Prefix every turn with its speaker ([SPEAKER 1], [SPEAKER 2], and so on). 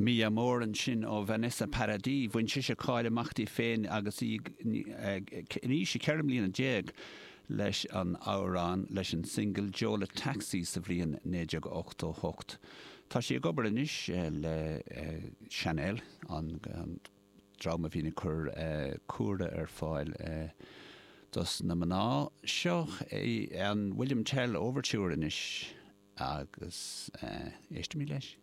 [SPEAKER 1] Mi Amor ansin ó Vanessa Paradis. Bhain sise cáil amach di féin agus í in aois a 14 mbliana leis an amhrán, leis an singil Joe Le Taxi sa bhliain 1988. Tá sí ag obair anois le Chanel, an dream a bhíonn ag cur cumhra ar fáil dos na mná. Seo é an William Tell Overture anois agus éistimid leis.